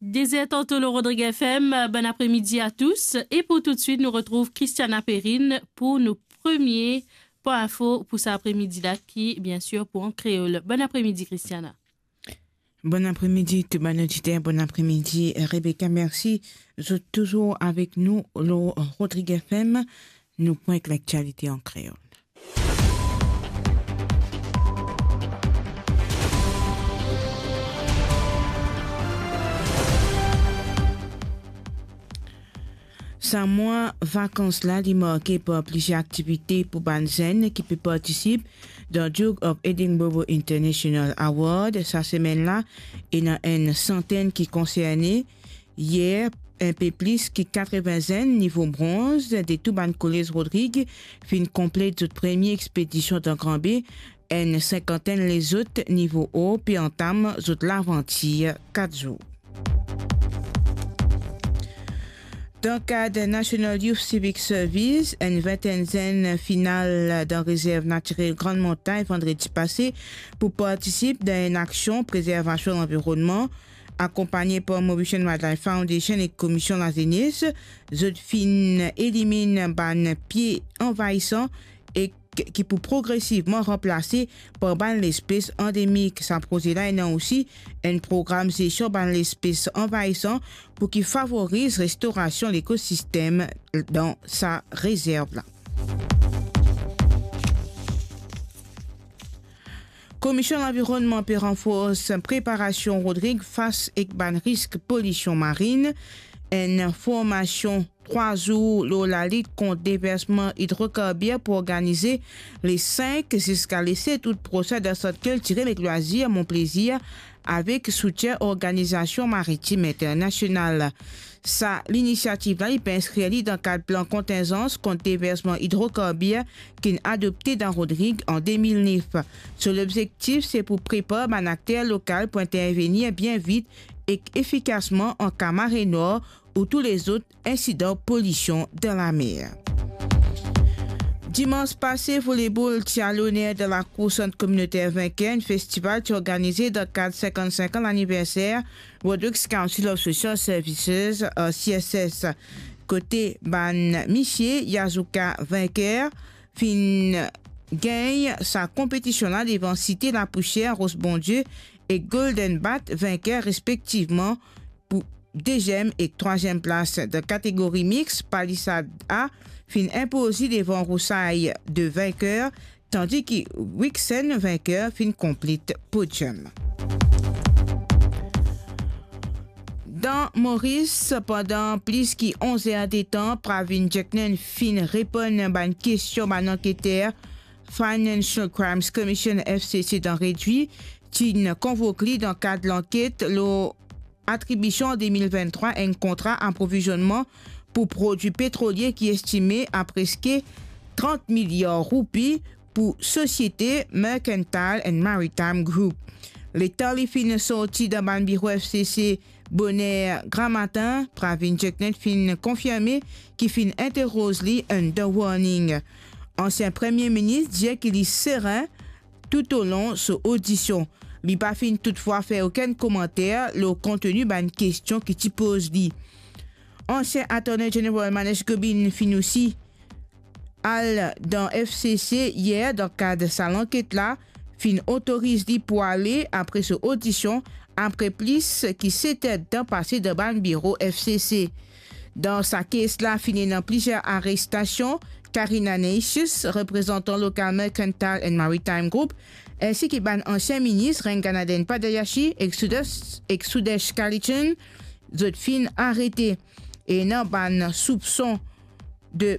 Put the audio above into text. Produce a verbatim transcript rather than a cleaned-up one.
Dezè tanto lor Rodrig F M, bon apremidi a tous. E pou toutswit, nou retrouv Christiana Perrine pou nou premie pwen info pou sa apremidi la ki, bien sir, pou an kreol. Bon apremidi, Christiana. Bon apremidi, tou bann oditer. Bon apremidi, Rebecca. Mersi zot touzour avek nou lor Rodrig F M. Nou pran ek laktialite an kreol. Sa mwa vakans la, li marke par plizier aktivite pou bann zenn ki pe partisip dan Duke of Edinburgh International Award. Sa semenn la, ena enn santenn ki konserne. Yer, inpe plis ki katreven zenn nivo bronz de tou bann kolez Rodrig finn konplet zot premie expedision dan Gran Be. Enn sinkantenn lezot nivo or pe antam zot lavantir kat zour. Dan kad National Youth Civic Service, enn vintenn zenn finn al dan rezerv natirel Grann Montagn vandredi pase pou partisip dan enn aksion prezervasion lanvironnman, akonpagne par Mauritian Wildlife Foundation ek Komisyon Lazenes. Zot finn eliminn bann pie anvayisan ek ki pou progresivman ranplase par bann lespes andemik. Sa proze la ena osi enn program zesion bann lespes anvayisan pou ki favoriz restorasion lekosistem dan sa rezerv la. Komisyon Lanvironnman pe ranfors preparasion Rodrig fas ek bann risk polision marin. Enn formasion trwa zour lor lalit kont deversman idrokarbir pou organize le sink ziska le set out prosin dan Sant Kiltirel ek Lwazir Mon Plezir avek soutien Organizasion Maritim Internasional. Sa linisiativ la, li pe inskrir li dan kad plan kontingans kont deversman idrokarbir ki'nn adopte dan Rodrig an de mil nef. So lobzektif se pou prepar bann akter lokal pou intervenir bien vit ek efikasman an ka mare nwar ou tou lezot insidan polision dan lamer. Dimans pase, volebol ti al loner dan lakour Sant Kominoter Vinker, enn festival ti organize dan kad sinkann-sink an laniverser Rodrigues Council of Social Services, R C S S. Kote bann misie, Yazuka Vinker finn gagn sa konpetision la devan Site Lapousier, Ros Bondie ek Golden Bat Vinker respektivman pou deziem ek trwaziem plas. Dan kategori mix, Palisade A finn inpoz li devan Roussailles de Vinker, tandi ki Wixen Vinker finn konplet podium. Dan Moris, pandan plis ki onz er de tan, Pravin Jagnan finn reponn bann kestion bann anketer Financial Crimes Commission, F C C, dan redwi, ti'nn konvok li dan kad lanket lor atribision an de mil venntrwa enn kontra aprovizonnman pou prodwi petrolie ki estime a preske trant miliar roupi pou sosiete Mercantile and Maritime Group. Letan li finn sorti dan bann biro F C C boner gramatin, Pravin Jagnan finn konfirme ki finn interoz li under warning. Ansien Premie Minis dir ki li seren toutolon so odision. Li pa finn toutfwa fer okenn komanter lor konteni bann kestion ki ti poz li. Ansien Attorney General Manesh Gobin finn osi al dan F C C yer dan kad sa lanket la, finn otoriz li pou ale apre so odision, apre plis ki set er tan pase dan bann biro F C C. Dan sa kes la, finn ena plizier arestasion, Karina Neicius, reprezantan lokal Mercantile and Maritime Group, ensi ki bann ansien minis Ranganathan Padayachee ek Sudesh, ek Sudesh Kalichand, zot finn arete. Ena bann soupson de